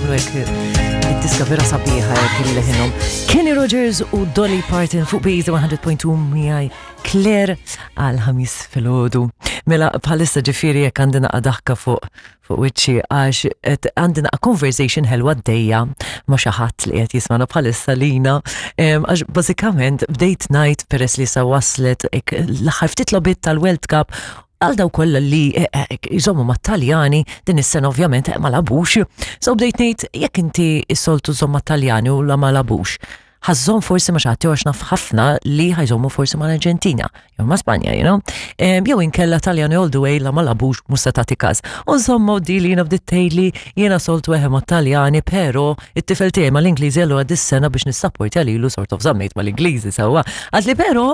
Jagħmlu hekk id-diska vera sabiħa hekk il-leħinhom. Kenny Rogers u Dolly Parton fuq Base 100.2 miegħi Claire għal ħamis filgħodu. Mela bħalissa ġifieri jekk għandi naqa' daħka fuq fuq wiċċi għax qed għandi naqa' conversation ħelwa għaddejja ma' xi ħadd li qed jismana bħalissa lina għax bażikament bdejt ngħid peress li sa waslet l-aħħar ftit logħbiet tal-World Cup għal daw kollha li eh, eh, jżommu mat-Taljani din is-sena ovvjament eh, ma labux. So bdejt ngħid jekk inti s-soltu żomm mat-Taljani u la ma labux. Ħa żżomm forsi ma' xi ħadd jew għax naf ħafna li ħa jżommu forsi mal-Arġentina jew ma' Spanja, you know. Jew inkella Taljani all the way la ma labux mhux se tagħti każ. U insomma u di li jiena bdiet tgħidli jiena soltu eħe mat-Taljani però it-tifel tiegħi mal-Ingliżi allura dis-sena biex nissapportja lilu sort of żammejt mal-Ingliżi sewwa. Qaltli però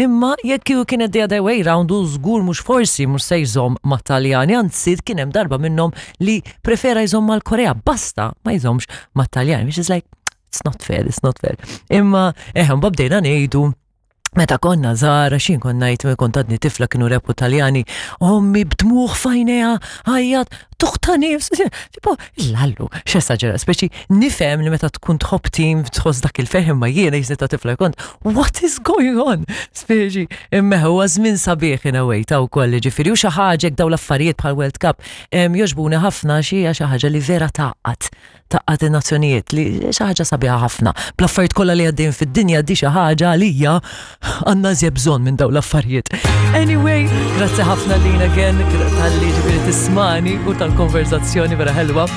imma jekk kieku kienet the other way round hu żgur mhux forsi mhux se jżomm mat-Taljani anzi kien hemm darba minnhom li prefera jżomm mal-Korea basta ma jżommx mat-Taljani which is like it's not fair, it's not fair. Imma eħe, mbagħad bdejna ngħidu meta konna żgħar, għax jien kont ngħid kont għadni tifla kienu rebħu Taljani, ommi b'dmugħ f'għajnejha għajjat, tuħta nifs, tipo, lallu, x'esaġera, speċi nifhem li meta tkun tħobb tim tħoss dak il-ferħ imma jiena jisni ta' tifla kont, what is going on? Speċi, imma huwa żmien sabiħ in a way ta' wkoll ġifieri u xi ħaġa daw l-affarijiet bħal World Cup jogħġbuni ħafna xi xi ħaġa li vera tgħaqqad tgħaqqad in-nazzjonijiet li xi ħaġa sabiħa ħafna. Bl-affarijiet kollha li għaddejjin fid-dinja di xi ħaġa għalija għandna żjed bżonn minn dawn l-affarijiet. Anyway, grazzi ħafna lina again tal-li ġifieri tismani u tal-konverzazzjoni vera ħelwa.